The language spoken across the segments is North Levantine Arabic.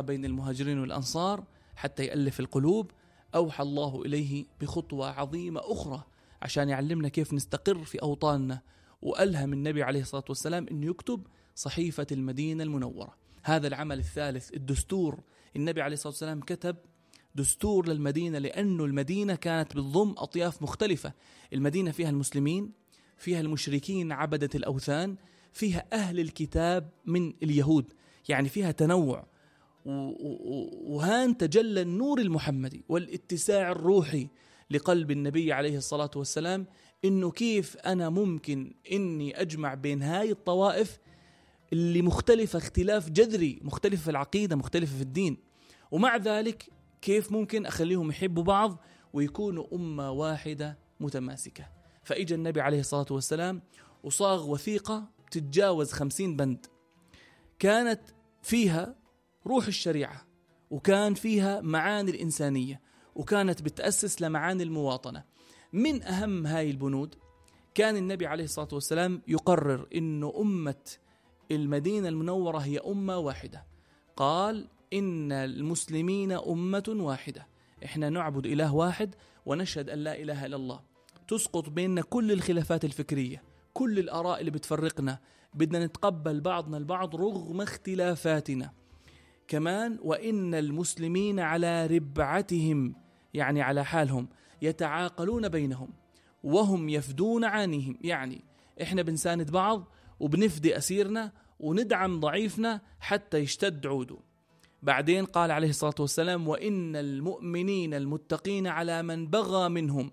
بين المهاجرين والأنصار حتى يألف القلوب، أوحى الله إليه بخطوة عظيمة أخرى عشان يعلمنا كيف نستقر في أوطاننا، وألهم النبي عليه الصلاة والسلام أن يكتب صحيفة المدينة المنورة. هذا العمل الثالث، الدستور. النبي عليه الصلاة والسلام كتب دستور للمدينة، لأنه المدينة كانت بتضم أطياف مختلفة. المدينة فيها المسلمين، فيها المشركين عبدة الأوثان، فيها أهل الكتاب من اليهود، يعني فيها تنوع. وهان تجلى النور المحمدي والاتساع الروحي لقلب النبي عليه الصلاة والسلام، إنه كيف أنا ممكن إني أجمع بين هاي الطوائف اللي مختلفة اختلاف جذري، مختلفة في العقيدة، مختلفة في الدين، ومع ذلك كيف ممكن أخليهم يحبوا بعض ويكونوا أمة واحدة متماسكة. فإجا النبي عليه الصلاة والسلام وصاغ وثيقة تتجاوز 50 بند، كانت فيها روح الشريعة، وكان فيها معاني الإنسانية، وكانت بتأسس لمعاني المواطنة. من أهم هاي البنود كان النبي عليه الصلاة والسلام يقرر إنه أمة المدينة المنورة هي أمة واحدة. قال إن المسلمين أمة واحدة، إحنا نعبد إله واحد ونشهد أن لا إله إلا الله. تسقط بيننا كل الخلافات الفكرية، كل الآراء اللي بتفرقنا، بدنا نتقبل بعضنا البعض رغم اختلافاتنا. كمان وإن المسلمين على ربعتهم، يعني على حالهم، يتعاقلون بينهم وهم يفدون عانيهم، يعني إحنا بنساند بعض وبنفدي أسيرنا وندعم ضعيفنا حتى يشتد عوده. بعدين قال عليه الصلاة والسلام: وإن المؤمنين المتقين على من بغى منهم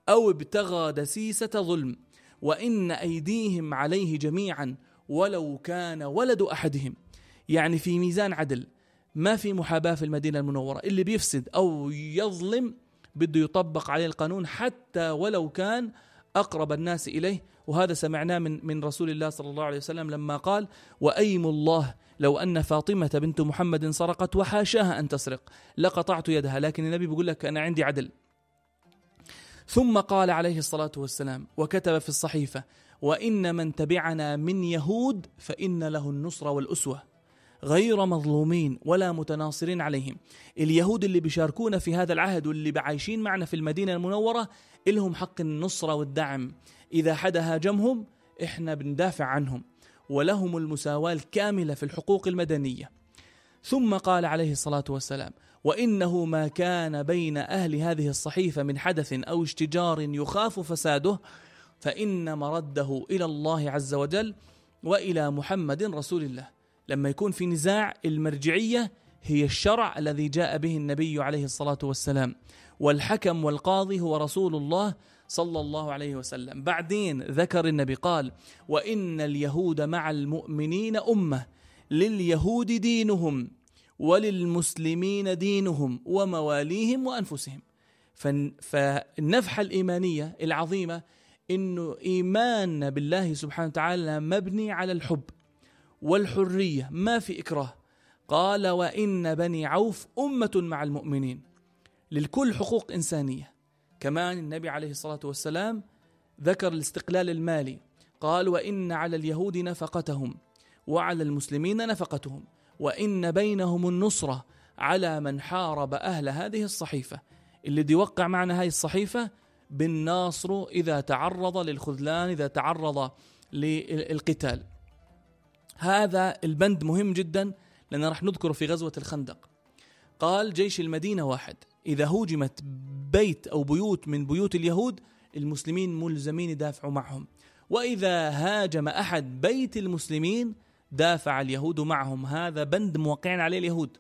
أو ابتغى دسيسة ظلم، وإن أيديهم عليه جميعا ولو كان ولد أحدهم. يعني في ميزان عدل، ما في محاباة في المدينة المنورة. اللي بيفسد أو يظلم بده يطبق عليه القانون حتى ولو كان أقرب الناس إليه. وهذا سمعناه من رسول الله صلى الله عليه وسلم لما قال: وأيم الله لو أن فاطمة بنت محمد سرقت وحاشاها أن تسرق لقطعت يدها. لكن النبي بيقول لك أنا عندي عدل. ثم قال عليه الصلاة والسلام وكتب في الصحيفة: وإن من تبعنا من يهود فإن له النصر والأسوة، غير مظلومين ولا متناصرين عليهم. اليهود اللي بيشاركونا في هذا العهد واللي بعايشين معنا في المدينة المنورة إلهم حق النصرة والدعم. إذا حدا هاجمهم إحنا بندافع عنهم، ولهم المساواة الكاملة في الحقوق المدنية. ثم قال عليه الصلاة والسلام: وإنه ما كان بين أهل هذه الصحيفة من حدث أو اشتجار يخاف فساده فإن مرده إلى الله عز وجل وإلى محمد رسول الله. لما يكون في نزاع، المرجعية هي الشرع الذي جاء به النبي عليه الصلاة والسلام، والحكم والقاضي هو رسول الله صلى الله عليه وسلم. بعدين ذكر النبي قال: وإن اليهود مع المؤمنين أمة، لليهود دينهم وللمسلمين دينهم ومواليهم وأنفسهم. فالنفحة الإيمانية العظيمة إنه إيماننا بالله سبحانه وتعالى مبني على الحب والحرية، ما في إكراه. قال: وإن بني عوف أمة مع المؤمنين، للكل حقوق إنسانية. كمان النبي عليه الصلاة والسلام ذكر الاستقلال المالي، قال: وإن على اليهود نفقتهم وعلى المسلمين نفقتهم، وإن بينهم النصرة على من حارب أهل هذه الصحيفة. اللي دي وقع معنا هاي الصحيفة بالناصر إذا تعرض للخذلان، إذا تعرض للقتال. هذا البند مهم جدا لأننا رح نذكره في غزوة الخندق. قال: جيش المدينة واحد، إذا هوجمت بيت أو بيوت من بيوت اليهود المسلمين ملزمين يدافعوا معهم، وإذا هاجم أحد بيت المسلمين دافع اليهود معهم. هذا بند موقعين عليه اليهود.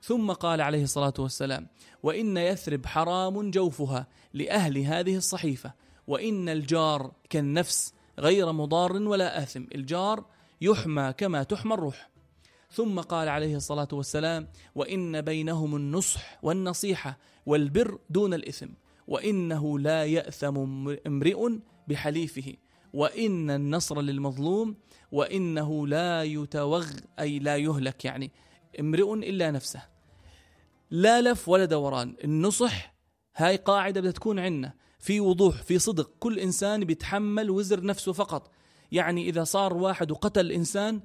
ثم قال عليه الصلاة والسلام: وإن يثرب حرام جوفها لأهل هذه الصحيفة، وإن الجار كالنفس غير مضار ولا آثم. الجار يحمى كما تحمى الروح. ثم قال عليه الصلاة والسلام: وإن بينهم النصح والنصيحة والبر دون الإثم، وإنه لا يأثم امرئ بحليفه، وإن النصر للمظلوم، وإنه لا يتوغ أي لا يهلك، يعني امرئ إلا نفسه. لا لف ولا دوران. النصح هاي قاعدة بدها تكون عندنا في وضوح، في صدق. كل إنسان بيتحمل وزر نفسه فقط. يعني إذا صار واحد وقتل إنسان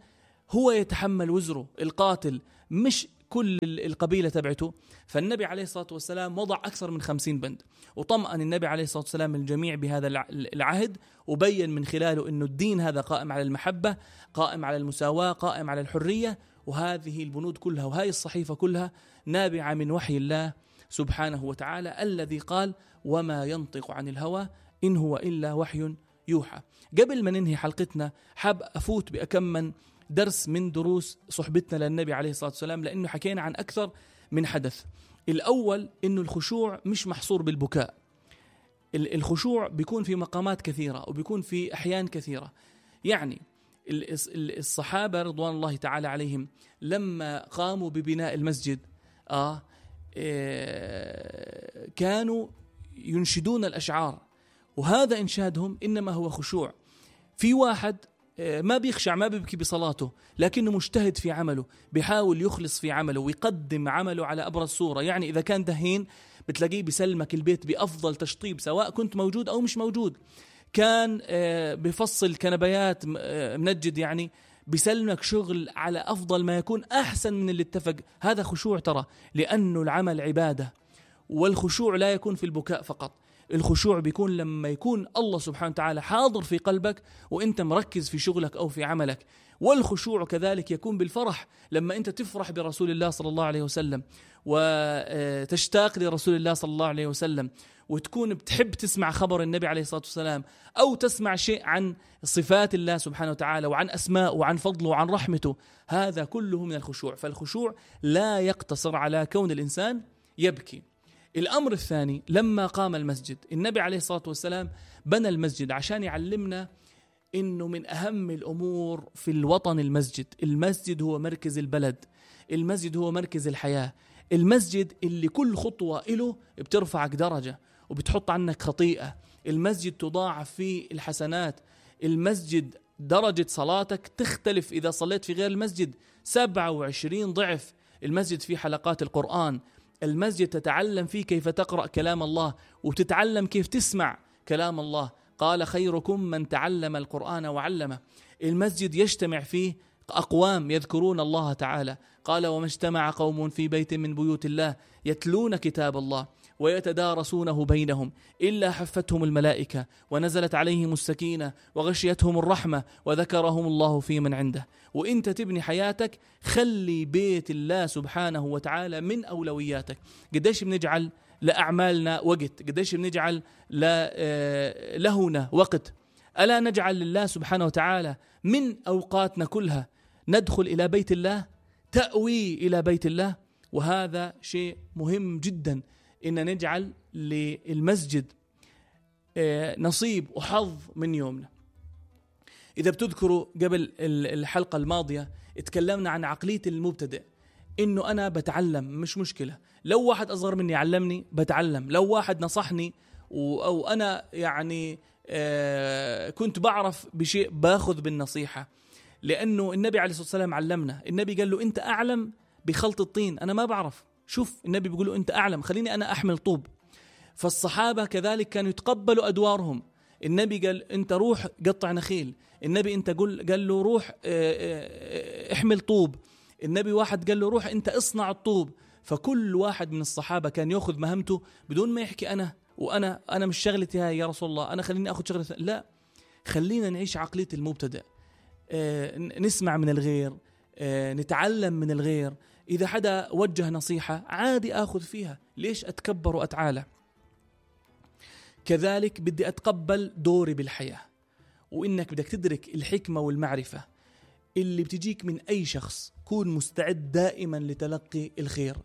هو يتحمل وزره، القاتل، مش كل القبيلة تبعته. فالنبي عليه الصلاة والسلام وضع أكثر من 50 بند، وطمأن النبي عليه الصلاة والسلام الجميع بهذا العهد، وبين من خلاله أنه الدين هذا قائم على المحبة، قائم على المساواة، قائم على الحرية. وهذه البنود كلها وهذه الصحيفة كلها نابعة من وحي الله سبحانه وتعالى الذي قال: وما ينطق عن الهوى إن هو إلا وحي يوحى. قبل ما ننهي حلقتنا حاب أفوت بأكم من درس من دروس صحبتنا للنبي عليه الصلاة والسلام، لأنه حكينا عن أكثر من حدث. الأول إنه الخشوع مش محصور بالبكاء، الخشوع بيكون في مقامات كثيرة وبيكون في أحيان كثيرة. يعني الصحابة رضوان الله تعالى عليهم لما قاموا ببناء المسجد كانوا ينشدون الأشعار، وهذا إنشادهم إنما هو خشوع. في واحد ما بيخشع، ما بيبكي بصلاته، لكنه مجتهد في عمله، بيحاول يخلص في عمله ويقدم عمله على أبرز صورة. يعني إذا كان دهين بتلاقيه بيسلمك البيت بأفضل تشطيب سواء كنت موجود أو مش موجود. كان بفصل كنبيات منجد، يعني بيسلمك شغل على أفضل ما يكون، أحسن من اللي اتفق. هذا خشوع ترى، لأنه العمل عبادة، والخشوع لا يكون في البكاء فقط. الخشوع بيكون لما يكون الله سبحانه وتعالى حاضر في قلبك وانت مركز في شغلك أو في عملك. والخشوع كذلك يكون بالفرح، لما انت تفرح برسول الله صلى الله عليه وسلم وتشتاق لرسول الله صلى الله عليه وسلم، وتكون بتحب تسمع خبر النبي عليه الصلاة والسلام، أو تسمع شيء عن صفات الله سبحانه وتعالى وعن أسماءه وعن فضله وعن رحمته. هذا كله من الخشوع. فالخشوع لا يقتصر على كون الإنسان يبكي. الأمر الثاني، لما قام المسجد، النبي عليه الصلاة والسلام بنى المسجد عشان يعلمنا إنه من أهم الأمور في الوطن المسجد. المسجد هو مركز البلد، المسجد هو مركز الحياة، المسجد اللي كل خطوة إله بترفعك درجة وبتحط عنك خطيئة. المسجد تضاعف فيه الحسنات. المسجد درجة صلاتك تختلف إذا صليت في غير المسجد 27 ضعف. المسجد فيه حلقات القرآن، المسجد تتعلم فيه كيف تقرأ كلام الله وتتعلم كيف تسمع كلام الله. قال: خيركم من تعلم القرآن وعلمه. المسجد يجتمع فيه أقوام يذكرون الله تعالى. قال: وما اجتمع قوم في بيت من بيوت الله يتلون كتاب الله ويتدارسونه بينهم إلا حفتهم الملائكة ونزلت عليهم السكينة وغشيتهم الرحمة وذكرهم الله في من عنده. وإنت تبني حياتك خلي بيت الله سبحانه وتعالى من أولوياتك. قديش بنجعل لأعمالنا وقت، قديش بنجعل لهنا وقت. ألا نجعل لله سبحانه وتعالى من أوقاتنا كلها ندخل إلى بيت الله، تأوي إلى بيت الله. وهذا شيء مهم جدا، إن نجعل للمسجد نصيب وحظ من يومنا. إذا بتذكروا قبل الحلقة الماضية اتكلمنا عن عقلية المبتدئ، إنه أنا بتعلم، مش مشكلة لو واحد أصغر مني علمني بتعلم، لو واحد نصحني أو أنا يعني كنت بعرف بشيء باخذ بالنصيحة. لأنه النبي عليه الصلاة والسلام علمنا. النبي قال له: أنت أعلم بخلط الطين، أنا ما بعرف. شوف النبي بيقول له: أنت أعلم، خليني أنا أحمل طوب. فالصحابة كذلك كانوا يتقبلوا أدوارهم. النبي قال: أنت روح قطع نخيل. النبي أنت قال له: روح احمل طوب. النبي واحد قال له: روح أنت اصنع الطوب. فكل واحد من الصحابة كان يأخذ مهمته بدون ما يحكي أنا مش شغلتي هاي يا رسول الله، أنا خليني أخذ شغلتي. لا، خلينا نعيش عقلية المبتدئ، نسمع من الغير، نتعلم من الغير. إذا حدا وجه نصيحة عادي أخذ فيها، ليش أتكبر وأتعالى؟ كذلك بدي أتقبل دوري بالحياة، وإنك بدك تدرك الحكمة والمعرفة اللي بتجيك من أي شخص. كون مستعد دائما لتلقي الخير،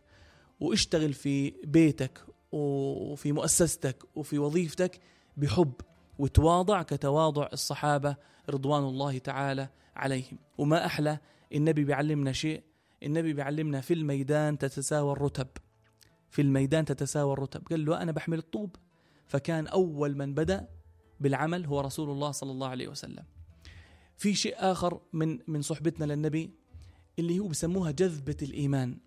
واشتغل في بيتك وفي مؤسستك وفي وظيفتك بحب وتواضع كتواضع الصحابة رضوان الله تعالى عليهم. وما أحلى النبي بيعلمنا شيء، النبي بيعلمنا في الميدان تتساوى الرتب. في الميدان تتساوى الرتب. قال له: أنا بحمل الطوب. فكان أول من بدأ بالعمل هو رسول الله صلى الله عليه وسلم. في شيء آخر من صحبتنا للنبي اللي هو بسموها جذبة الإيمان.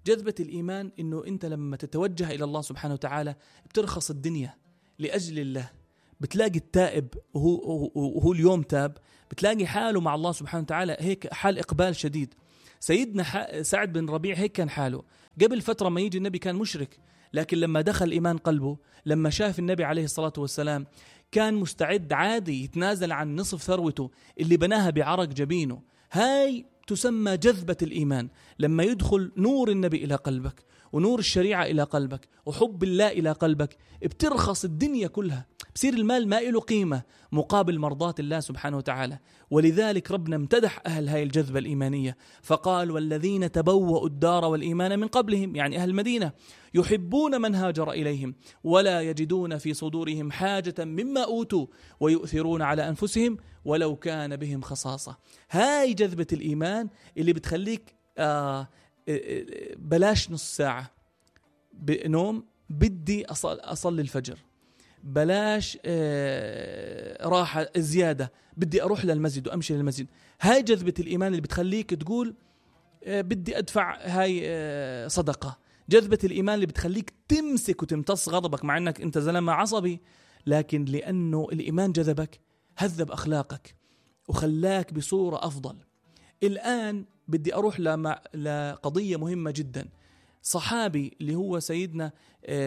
جذبة الإيمان إنه أنت لما تتوجه إلى الله سبحانه وتعالى بترخص الدنيا لأجل الله. بتلاقي التائب وهو اليوم تاب، بتلاقي حاله مع الله سبحانه وتعالى هيك حال إقبال شديد. سيدنا سعد بن ربيع هيك كان حاله قبل فترة ما يجي النبي، كان مشرك، لكن لما دخل الإيمان قلبه، لما شاف النبي عليه الصلاة والسلام، كان مستعد عادي يتنازل عن نصف ثروته اللي بناها بعرق جبينه. هاي تسمى جذبة الإيمان. لما يدخل نور النبي إلى قلبك، ونور الشريعة إلى قلبك، وحب الله إلى قلبك، بترخص الدنيا كلها، بصير المال ما له قيمة مقابل مرضاة الله سبحانه وتعالى. ولذلك ربنا امتدح أهل هاي الجذبة الإيمانية فقال: والذين تبوأوا الدار والإيمان من قبلهم، يعني أهل المدينة، يحبون من هاجر إليهم ولا يجدون في صدورهم حاجة مما أوتوا ويؤثرون على أنفسهم ولو كان بهم خصاصة. هاي جذبة الإيمان اللي بتخليك بلاش نص ساعة بنوم، بدي أصلي الفجر، بلاش راحة زيادة، بدي أروح للمسجد وأمشي للمسجد. هاي جذبة الإيمان اللي بتخليك تقول بدي أدفع هاي صدقة. جذبة الإيمان اللي بتخليك تمسك وتمتص غضبك مع أنك أنت زلمة عصبي، لكن لأنه الإيمان جذبك هذب أخلاقك وخلاك بصورة أفضل. الآن بدي أروح لقضية مهمة جدا. صحابي اللي هو سيدنا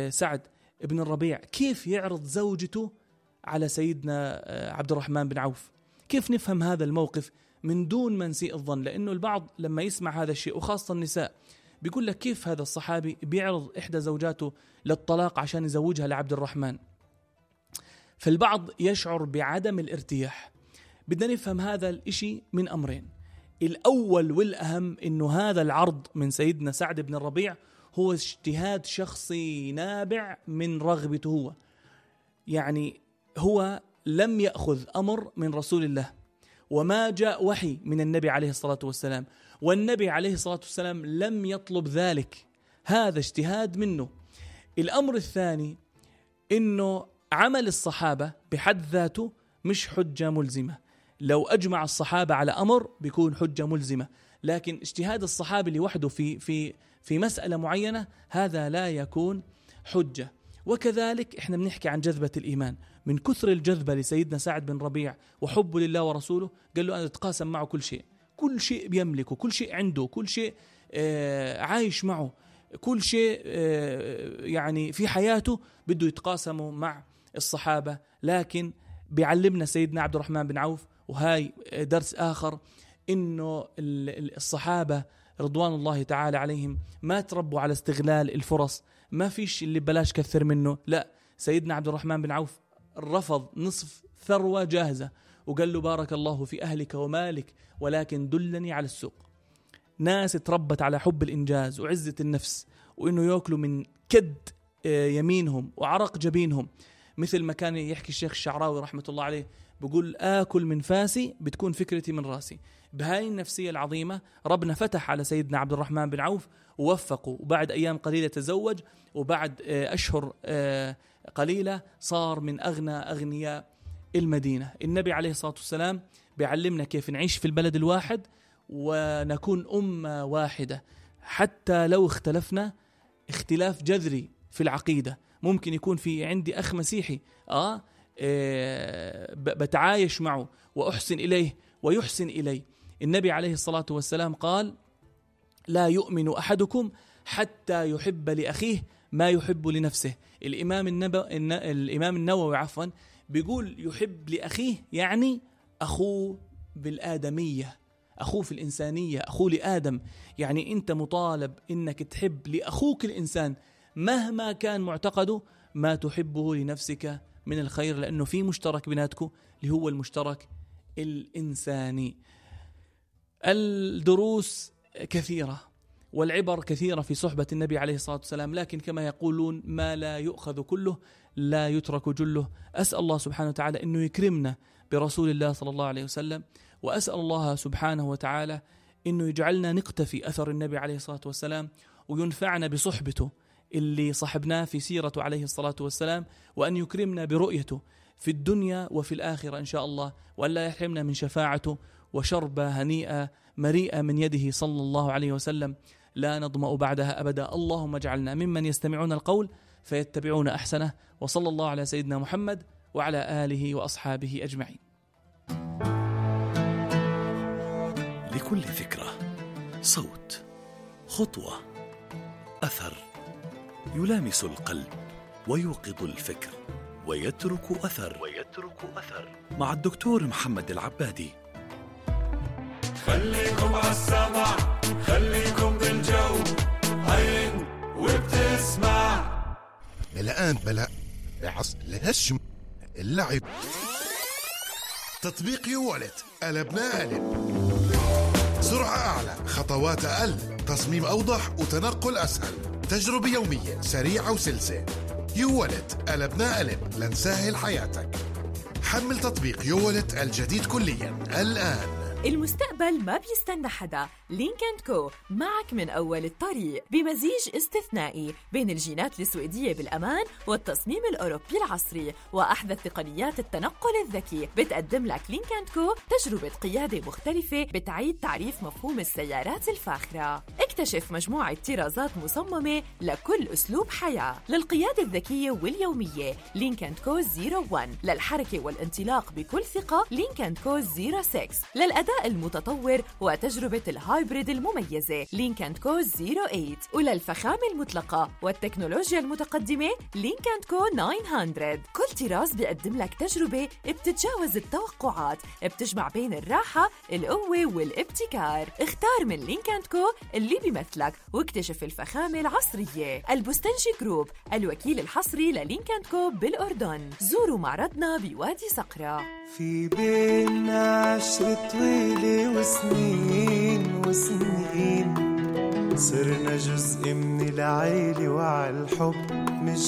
سعد بن الربيع، كيف يعرض زوجته على سيدنا عبد الرحمن بن عوف؟ كيف نفهم هذا الموقف من دون ما نسيء الظن؟ لأنه البعض لما يسمع هذا الشيء، وخاصة النساء، بيقول لك كيف هذا الصحابي بيعرض إحدى زوجاته للطلاق عشان يزوجها لعبد الرحمن؟ فالبعض يشعر بعدم الارتياح. بدنا نفهم هذا الإشي من أمرين. الأول والأهم إنه هذا العرض من سيدنا سعد بن الربيع هو اجتهاد شخصي نابع من رغبته هو، يعني هو لم يأخذ أمر من رسول الله، وما جاء وحي من النبي عليه الصلاة والسلام، والنبي عليه الصلاة والسلام لم يطلب ذلك. هذا اجتهاد منه. الأمر الثاني إنه عمل الصحابة بحد ذاته مش حجة ملزمة. لو أجمع الصحابة على أمر بيكون حجة ملزمة، لكن اجتهاد الصحابي لوحده في مسألة معينة هذا لا يكون حجة. وكذلك احنا بنحكي عن جذبة الإيمان. من كثر الجذبة لسيدنا سعد بن ربيع وحبه لله ورسوله، قال له أنا أتقاسم معه كل شيء بيملكه، كل شيء عنده، كل شيء عايش معه، كل شيء يعني في حياته بده يتقاسمه مع الصحابة. لكن بيعلمنا سيدنا عبد الرحمن بن عوف، وهاي درس آخر، إنه الصحابة رضوان الله تعالى عليهم ما تربوا على استغلال الفرص. ما فيش اللي بلاش كثر منه، لا. سيدنا عبد الرحمن بن عوف رفض نصف ثروة جاهزة وقال له: بارك الله في أهلك ومالك ولكن دلني على السوق. ناس تربت على حب الإنجاز وعزة النفس، وإنه يأكلوا من كد يمينهم وعرق جبينهم. مثل ما كان يحكي الشيخ الشعراوي رحمة الله عليه، بقول: آكل من فاسي بتكون فكرتي من راسي. بهاي النفسية العظيمة ربنا فتح على سيدنا عبد الرحمن بن عوف ووفقه، وبعد أيام قليلة تزوج، وبعد أشهر قليلة صار من أغنى أغنياء المدينة. النبي عليه الصلاة والسلام بيعلمنا كيف نعيش في البلد الواحد ونكون أمة واحدة، حتى لو اختلفنا اختلاف جذري في العقيدة. ممكن يكون في عندي أخ مسيحي بتعايش معه وأحسن إليه ويحسن إلي. النبي عليه الصلاة والسلام قال: لا يؤمن أحدكم حتى يحب لأخيه ما يحب لنفسه. الإمام النووي بيقول يحب لأخيه يعني أخوه بالآدمية، أخوه في الإنسانية، أخوه لآدم. يعني أنت مطالب إنك تحب لأخوك الإنسان مهما كان معتقده ما تحبه لنفسك من الخير، لأنه في مشترك بيناتكم اللي هو المشترك الإنساني. الدروس كثيرة والعبر كثيرة في صحبة النبي عليه الصلاة والسلام، لكن كما يقولون: ما لا يؤخذ كله لا يترك جله. أسأل الله سبحانه وتعالى أنه يكرمنا برسول الله صلى الله عليه وسلم، وأسأل الله سبحانه وتعالى أنه يجعلنا نقتفي أثر النبي عليه الصلاة والسلام، وينفعنا بصحبته اللي صحبناه في سيرته عليه الصلاة والسلام، وأن يكرمنا برؤيته في الدنيا وفي الآخرة إن شاء الله، وأن لا يحرمنا من شفاعته وشربة هنيئة مريئة من يده صلى الله عليه وسلم لا نظمأ بعدها أبدا. اللهم اجعلنا ممن يستمعون القول فيتبعون أحسنه، وصلى الله على سيدنا محمد وعلى آله وأصحابه أجمعين. لكل فكرة صوت، خطوة، أثر يلامس القلب ويوقظ الفكر ويترك أثر مع الدكتور محمد العبادي. خليكم عالسمع، خليكم بالجو، عين وبتسمع. بلا الهشم اللعب. تطبيق يوالت قلبنا قلب. سرعة أعلى، خطوات أقل، تصميم أوضح وتنقل أسهل، تجربة يومية سريعة وسلسة. يوالت قلبنا قلب لنسهل حياتك. حمل تطبيق يوالت الجديد كليا الآن. المستقبل ما بيستنى حدا. لينك&كو معك من أول الطريق بمزيج استثنائي بين الجينات السويدية بالأمان والتصميم الأوروبي العصري وأحدث تقنيات التنقل الذكي. بتقدم لك لينك&كو تجربة قيادة مختلفة بتعيد تعريف مفهوم السيارات الفاخرة. اكتشف مجموعة طرازات مصممة لكل أسلوب حياة. للقيادة الذكية واليومية لينك&كو 01، للحركة والانطلاق بكل ثقة لينك&كو 06، للأداء المتطور وتجربة الهايبريد المميزة لينك&كو 08، وللفخامة المطلقة والتكنولوجيا المتقدمة لينك&كو 900. كل طراز بيقدم لك تجربة بتتجاوز التوقعات، بتجمع بين الراحة، القوة والابتكار. اختار من لينك&كو اللي بيمثلك واكتشف الفخامة العصرية. البستنجي جروب، الوكيل الحصري للينك&كو بالأردن. زوروا معرضنا بوادي صقرة. في بينا عشرة طويلة وسنين صرنا جزء من العيلة وعالحب مش